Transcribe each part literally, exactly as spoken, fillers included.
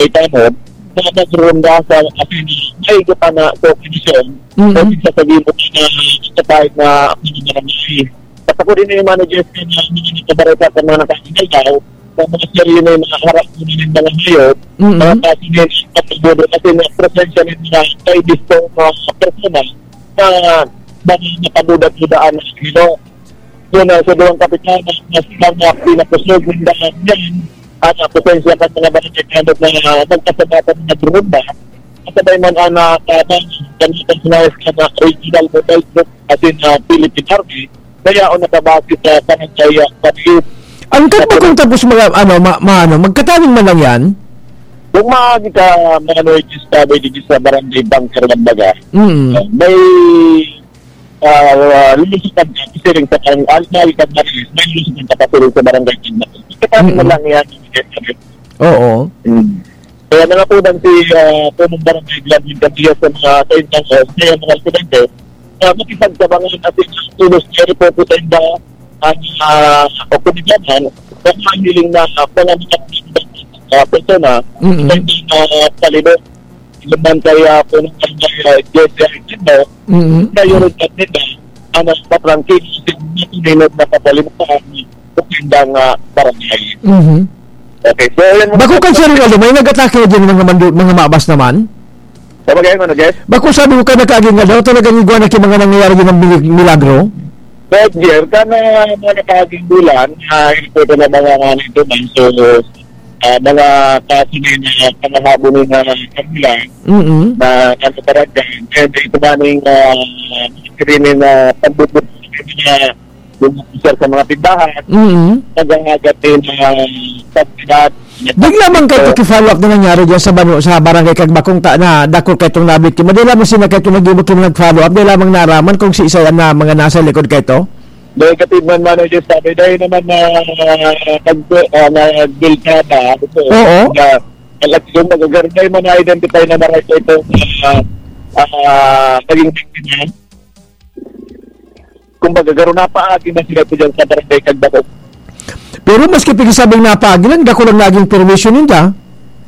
Barangay Tanod, na nagronda sa asin may gitana sa kondisyon, Mm. o sa sabi mo na kapatid na mga barangay. Basta ko din yung managers ko na mga nagkabareta sa mga nakakinay daw, sa mga serye na yung mga harap ko na yung mga hayop, Mm. mga kaso na yung pagkabudo kasi na presensya ng mga kaibisto mga persona na mga nakabuda-budaan na sino. Yun, ah, sa duwang kapitan, na, na silang, ah, pinakusog ng daan yan. At, ah, presensya pa sa mga barangay Tanod na, ah, nagkasabatan na nagronda. Kasabay man ang, ah, tabang, ganitong sinayas ka na regional mobile group, as in, ah, Philippine Army, kaya o nakabase sa barangay, ah, Pati. Ang kagba kung tapos mga, ano, ma-, ma-, ano, magkataning man lang yan? Kung maagi ka, mga Norges, sabi dito sa barangay Bunker, kumbaga, Mm. ah, may, ah, ah, lulusutan ka, siring sa pang-, ah, maagi ka, Marilis, may lulusutan ka pa siring sa barangay Bunker. Kasi Mm. mo lang yan, Oo. Mm. Kaya nangapunan si, ah, punong barangay Gladwin Candillas sa mga kaintang, ah, sa mga residente, ah, makipagtabangan at tulos niya po po sa inda ang, ah, oportunidad na mahiling na, ah, mga mga, ah, persona Mm-mm. sa inda, ah, palibot. Ilan man kaya punong barangay, ah, Jesse Aquino, Mm-mm. na yun ang nila, ang mas patrangkil, hindi nila nakapalimutan ang kanilang, ah, barangay. Mhm. Okay, so, yun muna. Bako kan Sir Ronaldo, may nag-atake na dyan mga mandu-, mga mabas naman? Sa bagay, ano, Jeff? Bako sabi ko ka nakaaging nga daw, talagang igwa na ki mga nangyayari dyan ng mili-, milagro? Roger, ka na mga nakaaging bulan, ah, ito na mga nga nito, man. So, ah, mga kaso na yung, ah, pangahabo na yung, ah, kanila Mm-mm. na ano, talaga. And ito na yung, ah, screen na pagbubuti na yung officer sa mga tindahan, Mm. naghahagat din ng, ah, pagsidat. Di lamang kayo So, paki-follow up na nangyari dyan sa banu-, sa barangay Kagbakong ta-, na dakul kayo itong nabiktima. Di lamang sila kayo itong nag-ibot yung nag-follow up. Di lamang naraman kung si isa na mga nasa likod kayo ito? Negative man, manager, sabi. Dahil naman na, ah, nag-, ah, nagbilkada, ito, Oo. na, talagang magagaling man na-identify na maray ito, ah, ah, naging biktima. Kumbaga, garo napaagi na sila ito dyan sa barangay Kagbakong. Pero maski pigsabing napaagi lang, dako lang naging perwisyo ninda.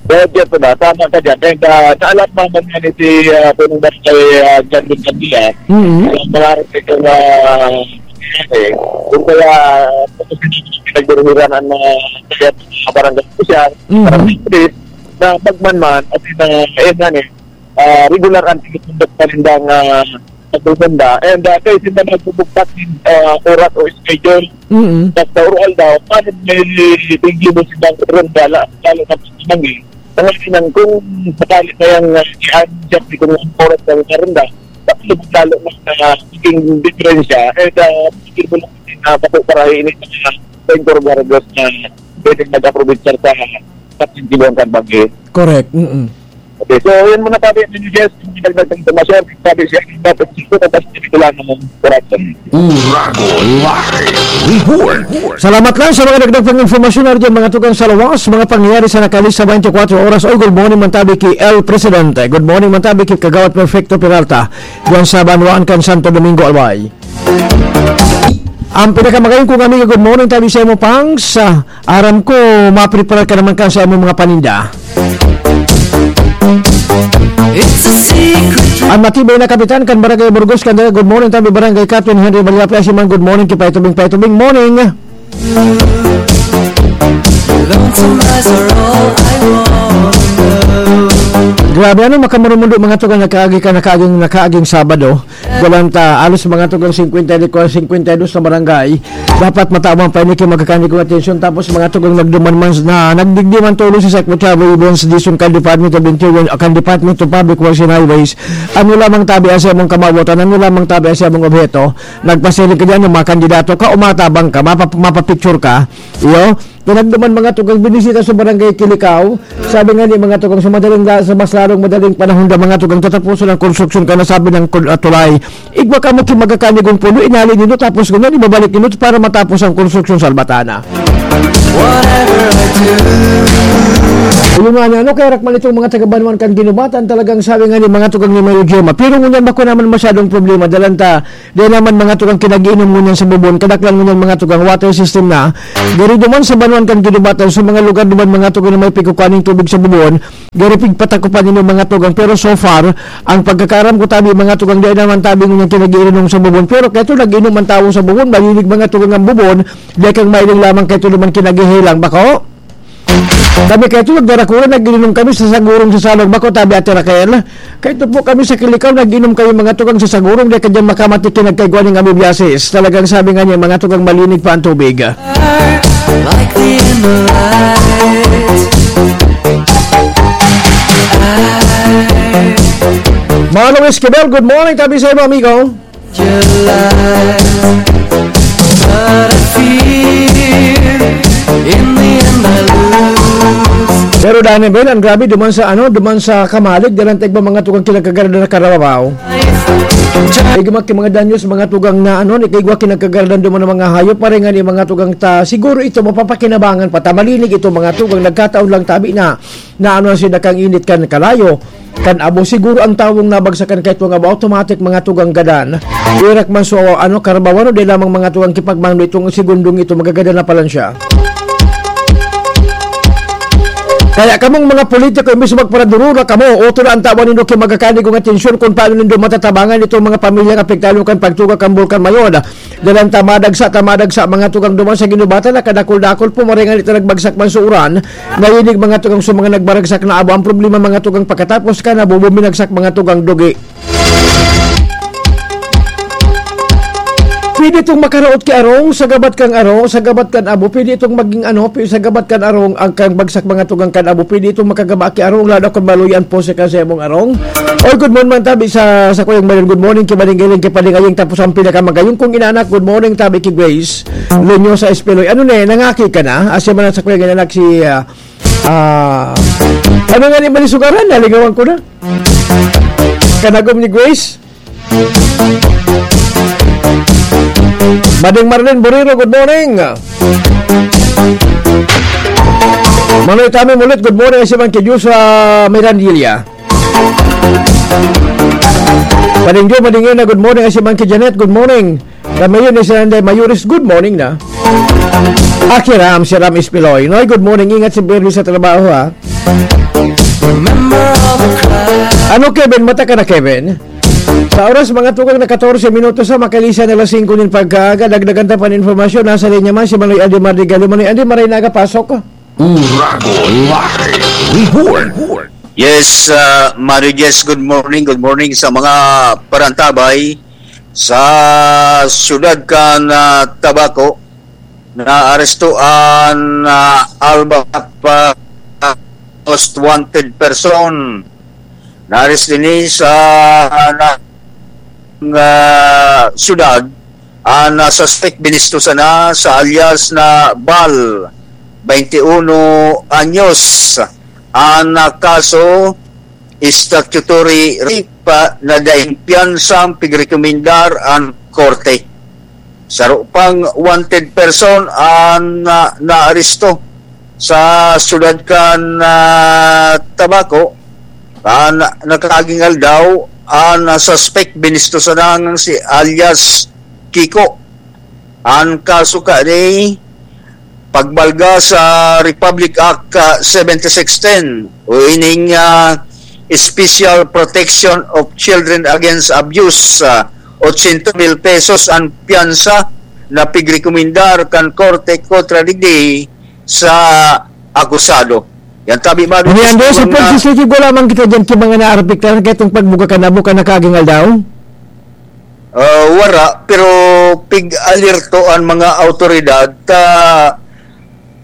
Kaya dyan po na, tama ka dyan. And, ah, naalarma man nga ni si, ah, Punong Barangay, ah, John Luis Candila. Mm. Ang mga respeto na, eh, kung kaya, tapos hindi pinagduruhiran ang mga, kaya mga barangay opisyal, Mm. barangay pulis, na pagmanman, at na, eh, yan eh, ah, regular ang tinutundok pa rin ang, ah, pagpupunta. And, ah, kayo sila nagbubugtak ng, ah, oras o schedule. Mm. Basta oral daw, paano may tingin mo silang ronda, la-, lalo na pag tumanggi? Ang kailangan kung sakali na yung, ah, i-adjust kung ang oras ng ronda, tapos lalo na, ah, naging diferensya, eh, ah, hindi mo lang na bako para ini sa, sa Incorporados na pwedeng mag-aprovechar sa, sa Sentido ang Karbagi. Correct. Mm-mm. Okay, so yun muna, Papi. Yun yung guest, yung dagdag na impormasyon. Sabi siya, dapat dito, tapos dito lang ng oras. Urago Live Report. Salamat lang sa mga dagdag pang impormasyon na dyan, mga tugang sa lawas, mga pangyayari sa nakalis sa twenty-four oras. Oy, good morning, man tabi ki El Presidente. Good morning, man tabi ki Kagawad Perfecto Peralta. Diyan sa Banwaan kan Santo Domingo, Albay. Ang pinakamagayon kong amiga, good morning, tabi sa imo, Pangs. Ah, aram ko, mapreparar ka naman kan sa imong mga paninda. It's a secret. Ang matibay na kapitan kan Barangay Burgos, Candelaria, good morning, tabi Barangay Catherine Henry Valiapia, si man, good morning, ki Paitubing, Paitubing, morning. Lonesome eyes are all I want. Grabe, ano, makamurumundo, mga tugang, nakaagi ka, nakaaging, nakaaging Sabado. Galang ta, alos mga tugang singkwenta y dos, singkwenta y dos na barangay. Dapat matawan pa ini ki magkakanigong atensyon. Tapos mga tugang nagduman man na nagdigdi man tulos si Secretary Evans Dizon kan Department of Interior, kan Department of Public Works and Highways. Ano lamang tabi sa imong kamawotan, ano lamang tabi sa imong obheto. Nagpasiring ka diyan, mga kandidato ka, umatabang ka, mapa-, mapapicture ka. Iyo, Pinagduman mga tugang binisita sa Barangay Kilikao. Sabi nga ni mga tugang sa madaling la-, sa mas lalong madaling panahon na mga tugang tatapusan ang konstruksyon ka na sabi ng kul-, ah, tulay. Igwa ka mo ki magkakanigong pulo, inali nindo tapos ganyan, ibabalik nindo para matapos ang konstruksyon sa Albatana. Whatever I do, Ayun nga, ano, kaya rakman itong mga taga-Banwaan kan Ginubatan, talagang sabi nga ni mga tugang ni Mayor Gemma. Pero ngunyan, bako naman masyadong problema, dalan ta, di naman mga tugang kinag-iinom ngunyan sa bubon, kadaklan ngunyan mga tugang water system na. Gari duman sa Banwaan kan Ginubatan, sa mga lugar duman mga tugang na may pigkukuhaning tubig sa bubon, gari pigpatakupan ninyo mga tugang. Pero so far, ang pagkakaram ko tabi, mga tugang, di naman tabi ngunyan kinag-iinom sa bubon. Pero kaya ito, nag-inom ang tao sa bubon, malilig mga tugang ang bubon, di kang mailing lamang kaya ito naman kinag-ihilang. Bako? Kami kayo tulog, darakuran, nag-inom kami sa sagurong sa salog. Bako, tabi, Ate Raquel. Kaito po kami sa Kilikaw, nag-inom kami mga tugang sa sagurong, di ka dyan makamati kinagkaigwa ning amoebiasis. Talagang sabi nga niya, mga tugang malinig pa ang tubig. Like the end of life. Mga Luis Kibel, good morning, tabi sa iyo, amigo. Pero Danny Bell, ang grabe, duman sa, ano, duman sa Kamalig, dalan ta igwa mga tugang kinagkagaradan na karababaw. Igwa ki mga danyos, mga tugang na, ano, ni kaigwa kinagkagaradan duman ng mga hayop, paringan ni mga tugang ta. Siguro ito, mapapakinabangan pa ta. Malinig ito, mga tugang, nagkataon lang tabi na, na ano, sila kang init kan kalayo. Kan abo, siguro ang tawong nabagsakan kay tuwang abo, automatic mga tugang gadan. Irak man so, ano, karabawan o di lamang mga tugang kipagmando itong segundong ito, magagadan na palan siya. Kaya kamong mga politiko, imbis magparadurura kamo, uto na ang tawan nindo ki magakani kong atensyon kung paano nindo matatabangan itong mga pamilyang apektado kan pagtuga kan Bulkan Mayon. Dalan ta madagsa, ta madagsa, mga tugang duman sa Ginubatan, nakadakul-dakul po, maray ngani ta nagbagsak man sa uran, nahilig mga tugang sa mga nagbaragsak na abo. Ang problema, mga tugang, pagkatapos ka nabubo, minagsak, mga tugang, dugi. Pwede itong makaraot ki arong, sa gabat kang arong, sa gabat kan abo, pwede itong maging ano, pi-, sa gabat kan arong, ang kang bagsak, mga tugang, kan abo, pwede itong makagaba ki arong, lalo kung maluyan po sa kasebong arong. Oy, good morning man tabi sa, sa Kuyang Mayon. Good morning, ki Maring Galing, ki Paring Ayeng, tapos ang pinakamagayong kong inanak. Good morning, tabi ki Grace Lunyo sa Espeloy. Ano na eh, nangaki ka na? Asya man sa Kuyang inanak si, ah, ah, ano nga ni malisugaran? Nalingawan ko na. Kanagom ni Grace? Mading Marlene Buriro, good morning. Manoy Tami Mulit, good morning. Asya man ki Diyos, ah, Mirandilla. Pading Jo, Mading Ina, good morning. Ay si Monkey Janet, good morning. Kami yun, isa nande, Mayuris, good morning na. Aki Ram, si Ram Espiloy. Noy, good morning. Ingat si Bernie sa trabaho, ha. Ano, Kevin? Mata ka na, Kevin? Sa oras, mga tugang na katorse minutos sa makalisa na alas singko nin pagkaaga, dagdagan ta pa nin informasyon. Nasa linya man si Manoy Andy Mardigalio. Manoy Andy, maray na aga, pasok. Uragon Live Report. Yes, ah, Mario Jess, good morning. Good morning sa mga parantabay sa siyudad kan, ah, Tabaco. Naaresto an, ah, Alba pa most wanted person. Naaresto ini sa, ah, na, ah, siyudad. An, ah, suspect binisto sana sa alias na Bal, twenty-uno anyos. An, ah, kaso, statutory rape, ah, na daing piyansa ang pigrekomendar an korte. Saro pang wanted person an, ah, naaresto sa siyudad kan, ah, Tabaco. An nakaaging aldaw, an suspect binisto sana si alias Kiko. An kaso kani pagbalga sa Republic Act, ah, seventy six ten o ining, ah, Special Protection of Children Against Abuse, ah, ochenta mil pesos an piyansa na pigrekomendar kan korte kontra digdi sa akusado. Yan tabi, Mario. Ano yan, Jess? Sa pagsisigig, wala man kita dyan sa mga naarapiktaran kaya itong pagbuga ka na buka na kaging aldaw? Ah, wara, pero pig-alerto an mga awtoridad ta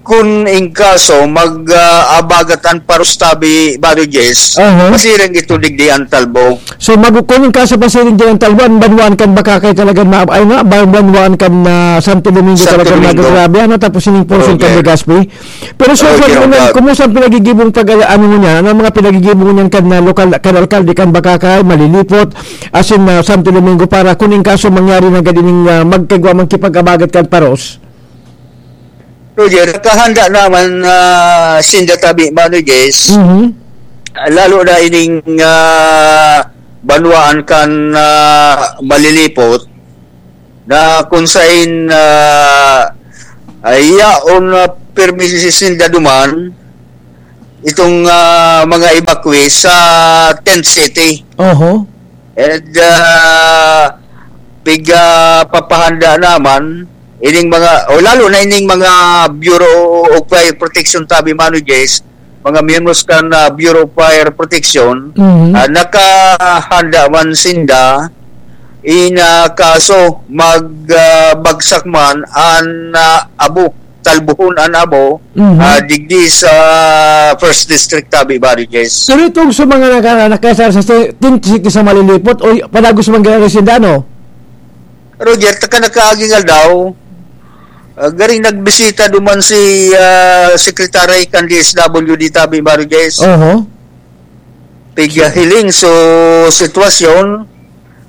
kun in kaso mag, ah, abagat an paros tabi, Bado Jess, Aha. Pasiring ito digdi an talbo. So, mag-, kun in kaso pasiring di an talbo, an banwaan kan Bakakay talaga na, ay nga, ba-, banwaan kan, ah, Santo Domingo Santo talaga Domingo. Magagrabe, ano, tapos ining portion kan Legazpi. Pero so, Okay, sa mga, okay. Kumusta ang pinagigibong pag-, ano mo niyan? Ano ang mga pinagigibong niyan kan, ah, lokal, kan alkalde, kan Bakakay, Malilipot, asin, ah, Santo Domingo para kun in kaso mangyari na gadining, ah, magkagwa man kipag-abagat kan paros? Roger, nakahanda naman, ah, sinda tabi, Mano Jess. Mhm. Lalo na ining, ah, banwaan kan, ah, Malilipot na kung sain, ah, ay yaon na permi sinda duman itong, ah, mga evacuees sa tent city. Oho. And, ah, pig, ah, papahanda naman ining mga, o lalo na ining mga Bureau of Fire Protection, tabi, Mano Jess, mga miyembros kan, ah, Bureau of Fire Protection, Mhm. ah, nakahanda man sinda in, ah, kaso mag, ah, bagsak man an, ah, abo, talbuhon an abo, Mhm. ah, digdi sa First District, tabi, Mano Jess. Pero itong sa mga naka-, nakasar sa si-, Tin City sa Malilipot, o y-, padagos man gani sinda, no? Roger, taka nakaaging aldaw, ah, garing nagbisita duman si, ah, Secretary kan D S W D, tabi, Mano Jess. Oho. Pighiling so sitwasyon,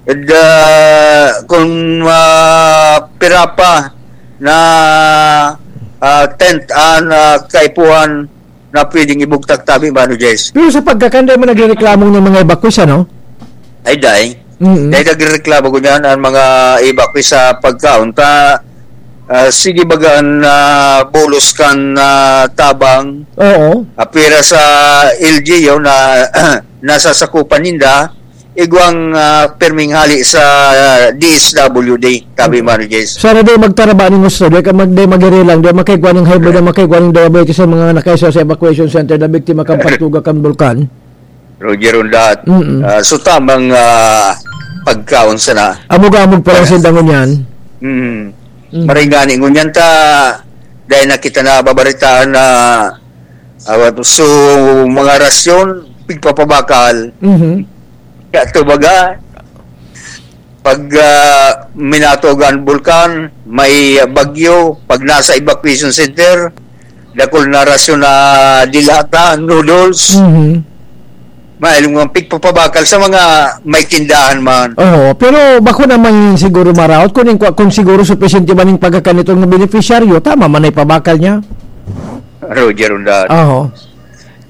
and, ah, kung, ah, pira pa na, ah, tent an, ah, kaipuhan na pwedeng ibugtak, tabi, Mano Jess. Pero sa pagkakan, dai man nagrereklamo ng mga evacuees, ano? Ay, dai. Mm-mm. Dai nagrereklamo ko niyan, ang mga evacuees sa pagkaon. Ta, ah, sige baga an, ah, bulos kan, ah, tabang. Oo. Apira sa L G U na nasasakupan ninda, igwang, ah, perming hali sa, ah, D S W D, tabi, Mano Jess. Sana di magtaraba ning gusto, di ka mag-, di magirilang, di makaigwa ng high blood, di makaigwa ng diabetes sa mga nakaisa sa evacuation center na biktima kan pagtuga kan bulkan. Roger Undat. Mm-mm. Ah, so tamang, ah, pagkaon sana. Amog-amog pa lang Yes. sinda ngunyan. Mm. Mm. Maray gani ngunyan ta, dahil na kita nababaritaan na, ah, so, mga rasyon, pigpapabakal. Mhm. Kaya ito baga, pag, ah, minatog ang bulkan, may bagyo, pag nasa evacuation center, dakul na rasyon na dilata, noodles. Mhm. Mahiling mga pigpapabakal sa mga may tindahan man. Oo, pero bako naman siguro maraot kung, kung siguro supisente man yung pagkakan nitong benepisyaryo, tama man ay pabakal niya. Roger Undat. Oo.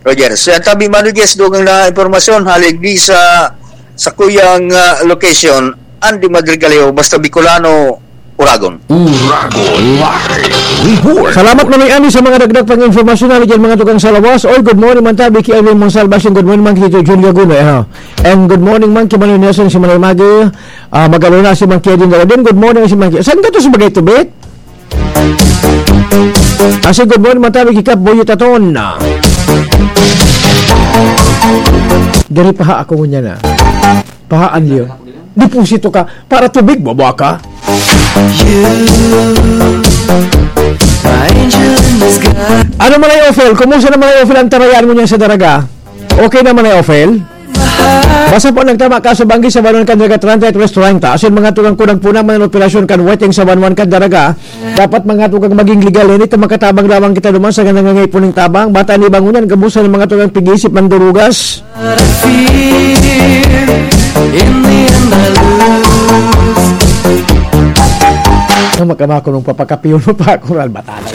Roger, sa tabi, Mano Jess, dugang na impormasyon, halig di sa, sa kuyang, ah, location, Andy Madrigaleo, basta Bicolano, Uragon. Uragon Live Report. Salamat, Manoy Andy, sa mga dagdag pang impormasyon na dyan, mga tukang sa lawas. Oy, good morning, man tabi, ki Irene Monsalva, siyang good morning, man, ki Tito Jun Laguna, eh, ha. And good morning, man, ki Manoy Nelson, si Manoy Magi, ah, Magalona, si Mang Kevin Galadin, good morning, si Mang Kevin. Saan ka to sa bagay, Tubit? Kasi good morning, man tabi, ki Kap Boyo Taton. Diri pa ha ako ngunyan, ah. Pahaan niyo. Deposito ka para tubig, baba ka. Ano man ay, Ophel? Kumusta naman ay, Ophel, ang tarayan mo niyan sa Daraga? Okay naman ay, Ophel? Basta po nagtama ka sa banggi sa Banwan kan Daraga treinta y tres treinta. Asin mga tugang kunang puna man ang operasyon kan weteng sa Banwan kan Daraga. Dapat mga tugang maging legal. Hindi ta makatabang lamang kita duman sa nangangaipo ning tabang. Bata ni bangunan, gabusan ng mga tugang pig-isip, mandurugas. Ang makama ko nung papakapiyon mo pa ako, Ral Batalan.